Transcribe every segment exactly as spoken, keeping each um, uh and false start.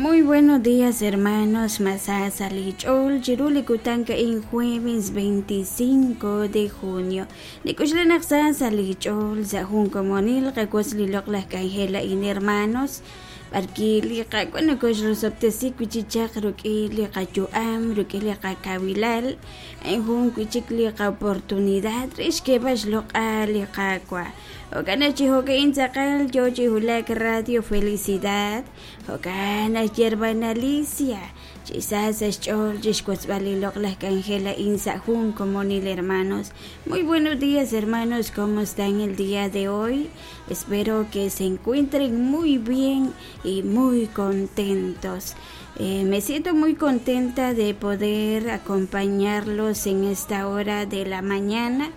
Muy buenos días, hermanos. Masasa lich'ol chiru li kutan ka'in jueves veinticinco de junio. Nikuxlanaq sa lich'ol sa jun komonil qawas li loq'laj k'anjel a'in, hermanos. Barki li qak'wan nokoxrosob'tesi wichichaq ruk'i li qayu'am, ruk'i li qakawilal, a'in jun wichik li qaoportunidad rix ke'b'ax loq'al li qakwa. Jo'kan chi jo'ka'in tzaqal yo chi hulak Radio Felicidad, jo'kan hermana Alicia, chi sa sa xch'ool chi xwotzb'al li loq'laj k'anjel a'in sa jun komonil, hermanos. Muy buenos días, hermanos, ¿cómo están el día de hoy? Espero que se encuentren muy bien y muy contentos. Eh, me siento muy contenta de poder acompañarlos en esta hora de la mañana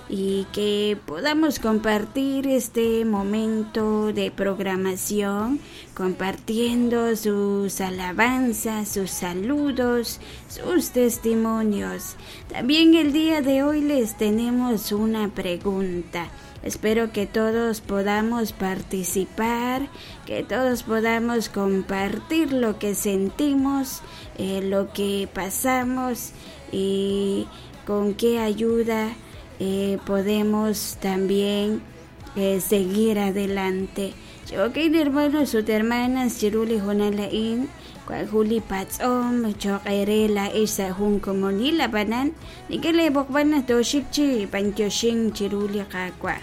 y que podamos compartir este momento de programación, compartiendo sus alabanzas, sus saludos, sus testimonios. También el día de hoy les tenemos una pregunta. Espero que todos podamos participar, que todos podamos compartir lo que sentimos, eh, lo que pasamos y con qué ayuda eh, podemos también eh, seguir adelante. Ok, hermanos ut hermanas, chiru li hoonal a'in, cual juli patz'om, choq ere la ix sa jun komonil ab'anan, nik'el b'oqb'an toxik chi b'antioxin chiru li qakwa.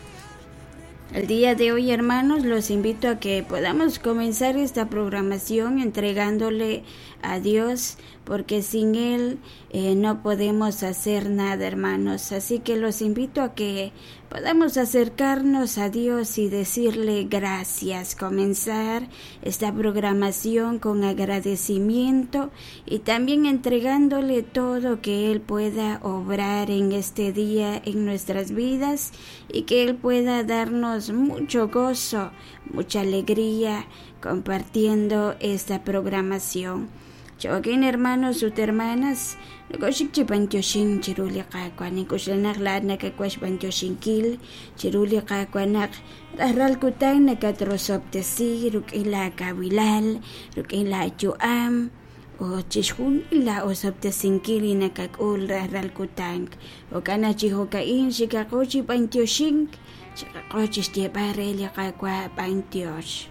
El día de hoy, hermanos, los invito a que podamos comenzar esta programación entregándole a Dios, porque sin Él eh, no podemos hacer nada, hermanos. Así que los invito a que podamos acercarnos a Dios y decirle gracias, comenzar esta programación con agradecimiento y también entregándole todo que Él pueda obrar en este día en nuestras vidas y que Él pueda darnos mucho gozo, mucha alegría compartiendo esta programación. Chokin hermanos ut hermanas, nokoxik chi b'antioxin chiru li qakwa, nikuxlanaq laat nakakwax b'antioxinkil chiru li qakwanaq rajral kutan nakatrosob'tesi ruk'in la kawilal, ruk'in la yu'am, o chixjunil la osob'tesinkil li nakak'ul rajral kutan. Jo'kan chi jo'ka'in xikaqo chi b'antioxink, xikaqo chi xyeb'al re li qakwa b'antiox.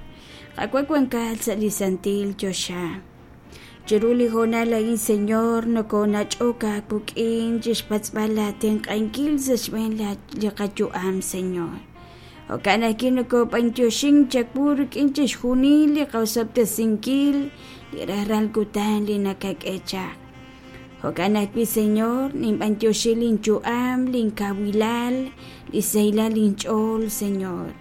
Qakwa wankaal sa' li santil choxa. Chiru li hoonal a'in, Señor, nokonach'ok aakuk'in chixpatz'b'al la tenq'ankil sa' xb'een li qayu'am, Señor. Jo'kan ajwi' nokob'antioxin chawu rik'in chixjunil li qawsob'tesinkil li rajral kutan li nakak'e chaq. Jo'kan ajwi', Señor, ninb'antioxin linyu'am, linkawilal, li sahilal linch'ool, Señor.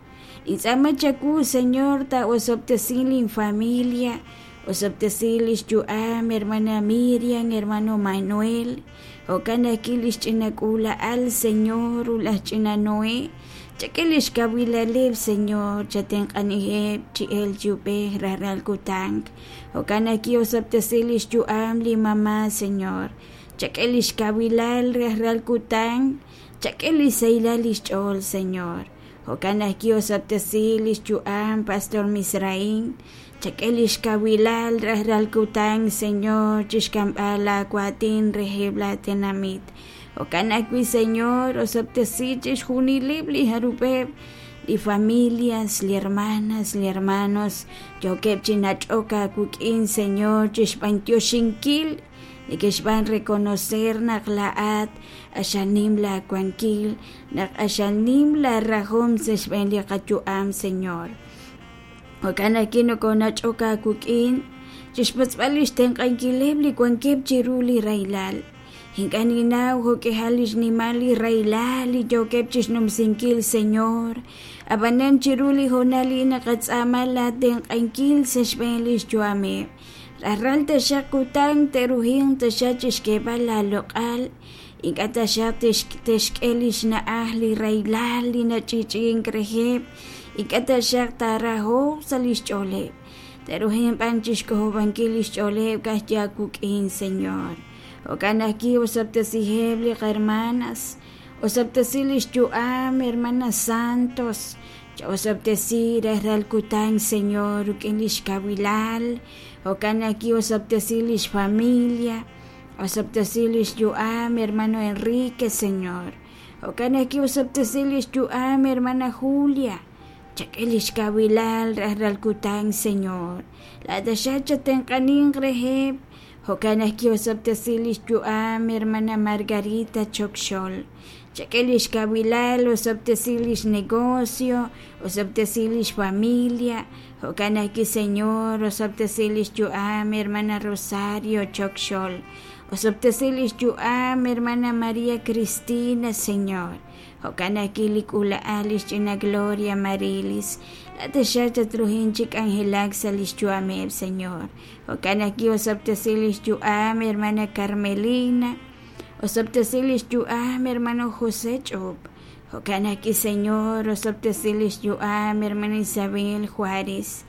Nintz'aama chawu, Señor, ta'osob'tesin linfamilia, osob'tesil lix yu'am, hermana Miriam, hermano Manuel, jo'kan ajwi' lix ch'inak'ula'al, Señor, ulaj ch'ina Noé, chak'e lix kawilaleb, Señor, chatenq'anijeb chi el yub'ej rajral kutan, jo'kan ajwi' osob'tesil lix yu'am li mamá, Señor, chak'e lix kawilal rajral kutan, chak'e li sahilal lix ch'ool, Señor, jo'kan ajwi' osob'tesil lix yu'am, Pastor Misraín, chak'e lix kawilal rajral kutan, Señor, chixk'amb'al aawatin reheb la tenamit. Jo'kan ajwi', Señor, osob'tesi chixjunileb li jarub'eb, li familias, li hermanas, li hermanos, yookeb' chi nach'ok aawik'in, Señor, chixb'antioxinkil, nekexb'an reconocer naq la'at axanim la wankil, naq axanim la rajom sa' xb'een li qayu'am, Señor. Jo'kan ajwi' nokonach'ok aawik'in, chixpatz'b'al lix tenq'ankileb li wankeb' chiru li rahilal. Ink'a' ninnaw jo'k'ihal lix nimal li rahilal li yookeb' chixnumsinkil, Señor. Ab'anan chiru li hoonal li naqatz'aama la tenq'ankil sa' xb'een lix yu'ameb'. Rajral taxaq kutan te'ruhinq taxaq chixk'eeb'al la loq'al, ink'a' taxaq texk'e lix na'aj li rahilal li nach'ich'ink reheb', ink'a' taxaq taarahoq sa' lix ch'ooleb'. Te'ruhinq b'an chixk'ojob'ankil lix ch'ooleb' ka'aj aawik'in, Señor. Jo'kan ajwi' osob'tesiheb' li qahermanas, osob'tesi lix yu'am, hermanas Santos, Chaosab'tesi rajlal kutan Señor rik'in lix kawilal jo'kan ajwi' osab'tesi lix familia osab'tesi lix yu'am hermano Enrique Señor jo'kan ajwi' osab'tesi lix yu'am hermana Julia chak'e lix kawilal rajlal kutan Señor laat taxaq chatenq'aninq reheb' jo'kan ajwi' osab'tesi lix yu'am hermana Margarita Chokxol chak'e lix kawilal osab'tesi lix negocio osab'tesi lix familia jo'kan ajwi' Señor osab'tesi lix yu'am hermana Rosario Chokxol osab'tesi lix yu'am hermana María Cristina Señor jo'kan ajwi' li k'ula'al lix ch'ina Gloria Marilis laat taxaq tatruhin chi k'anjelak sa' lix yu'ameb' Señor jo'kan ajwi' osab'tesi lix yu'am hermana Carmelina osab'tesi lix yu'am hermano José Ch'ub jo'kan ajwi' Señor osab'tesi lix yu'am hermana Isabel Juárez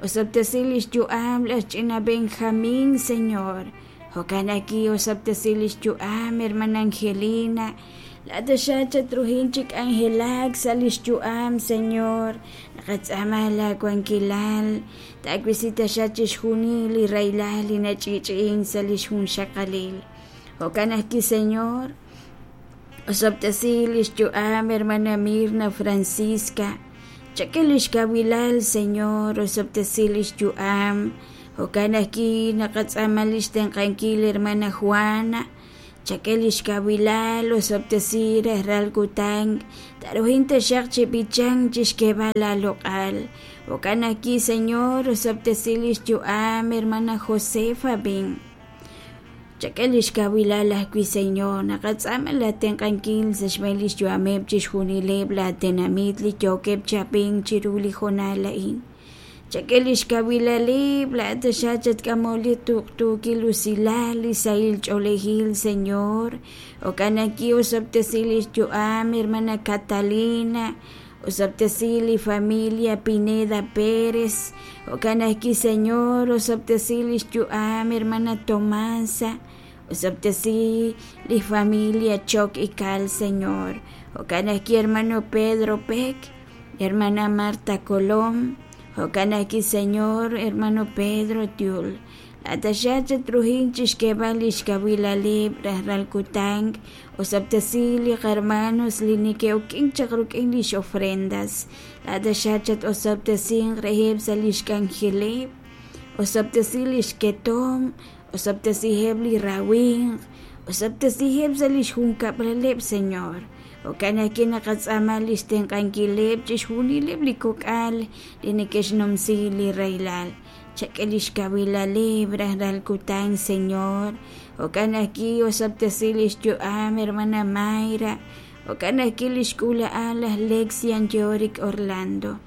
osab'tesi lix yu'am laj ch'ina Benjamín Señor jo'kan ajwi' osab'tesi lix yu'am hermana Angelina laat taxaq chatruhin chi k'anjelak sa' lix yu'am Señor naqatz'aama laawankilal taawisi taxaq chixjunil li rahilal li nach'i'ch'i'in sa' lix junxaqalil jo'kan ajwi' Señor osab'tesi lix yu'am hermana Mirna Francisca chak'e lix kawilal Señor osab'tesi lix yu'am jo'kan ajwi' naqatz'aama lix tenq'ankil hermana Juana chak'e lix kawilal osab'tesi rajlal kutan taruhin taxaq chi b'ichan chixk'eeb'al laaloq'al jo'kan ajwi' Señor osab'tesi lix yu'am hermana Josefa bin chak'e lix kawilal ajwi' Señor naqatz'aama laatenq'ankil sa' xb'een lix yu'ameb' chixjunileb' laatenamit li yookeb' chab'ink chiru li hoonal a'in chak'e lix kawilaleb' laat taxaq chatk'amol li tuqtuukil usilal li sahil ch'oolejil Señor jo'kan ajwi' osab'tesi lix yu'am hermana Catalina osab'tesi li familia Pineda Pérez jo'kan ajwi' Señor osab'tesi lix yu'am hermana Tomasa osab'tesi li familia Choc Ical Señor jo'kan ajwi' hermano Pedro Peck hermana Marta Colom jo'kan ajwi' Señor hermano Pedro Tiul laat taxaq chatruhin chixk'eeb'al lix kawilaleb' rajlal kutan osab'tesi li qarmanos li neke'uk'in chaq rik'in lix ofrendas laat taxaq chat-osab'tesin reheb' sa' lix k'anjeleb' osab'tesi lix ketom osab'tesiheb' li rawinq osab'tesiheb' sa' lix junkab'laleb' Señor jo'kan ajwi' naqatz'aama lix tenq'ankileb' chixjunileb' li kok'al li neke'xnumsi li rahilal chak'e lix kawilaleb' rajlal kutan Señor jo'kan ajwi' osab'tesi lix yu'am hermana Mayra jo'kan ajwi' lix k'ula'al laj Lexian Yorick Orlando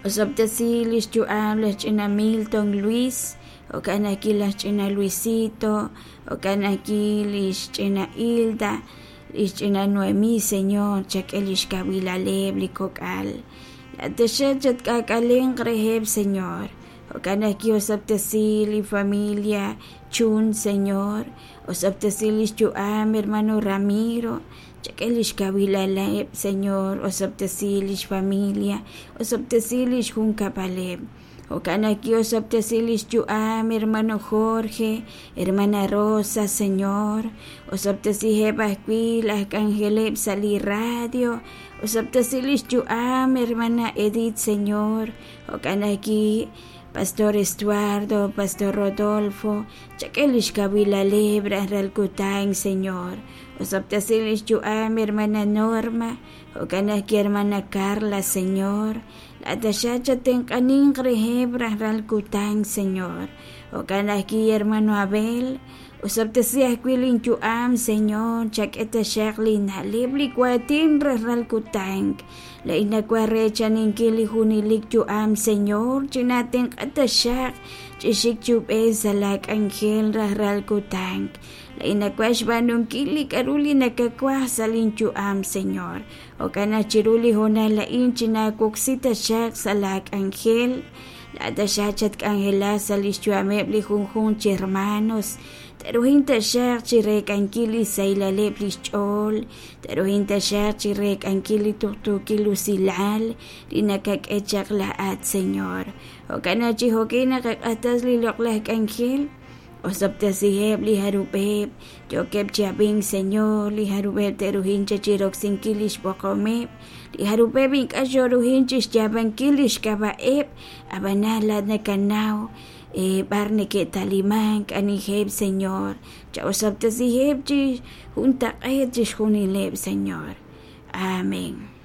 osab'tesi lix yu'am laj ch'ina Milton Luis jo'kan ajwi' laj ch'ina Luisito jo'kan ajwi' lix ch'ina Hilda lix ch'ina Noemí Señor chak'e lix kawilaleb' li kok'al laat taxaq chatk'ak'alenq reheb' Señor jo'kan ajwi' osab'tesi li familia Chun Señor osab'tesi lix yu'am hermano Ramiro chak'e lix kawilaleb' Señor osab'tesi lix familia osab'tesi lix junkab'aleb' jo'kan ajwi' osab'tesi lix yu'am hermano Jorge hermana Rosa Señor osab'tesiheb' ajwi' laj k'anjeleb' sa' li radio osab'tesi lix yu'am hermana Edith Señor jo'kan ajwi' Pastor Estuardo, Pastor Rodolfo, chak'e lix kawilaleb' rajlal kutan Señor osab'tesi lix yu'am hermana Norma jo'kan ajwi' hermana Carla Señor laat taxaq chatenq'aninq reheb' rajlal kutan Señor jo'kan ajwi' hermano Abel osab'tesi ajwi' linyu'am Señor chak'e taxaq lina'leb' li waatin rajlal kutan la'in nawaj reechaninkil li junelik yu'am Señor chinatenq'a taxaq chixik chub'ej sa' laak'anjel rajlal kutan la'in nawaj xb'aanunkil li k'a'ru li nakawaj sa' linyu'am Señor jo'kan naq chiru li hoonal a'in chinawoksi taxaq sa' laak'anjel Laa'at taxaq chatk'anjelaq sa' lix yu'ameb' li junjunq chi hermanos. Te'ruhin taxaq chireek'ankil li sahilaleb' lix ch'ool, te'ruhin taxaq chireek'ankil li tuqtuukil usilal li nakak'e chaq laa'at, Señor. Jo'kan naq chi jo'kin naqaq'axtes li loq'laj k'anjel. Osob'tesiheb' li jarub'eb' yookeb' chi ab'ink, Señor, li jarub'eb' te'ruhin chiroksinkil lix b'oqomeb', li jarub'eb' ink'a' xoruhin chixyaab'ankil lix k'ab'a'eb', ab'anan laa'at nakanaw b'ar neke'talimank aniheb', Señor. Cha'osob'tesiheb' chi juntaq'eet chixjunileb', Señor. Amén.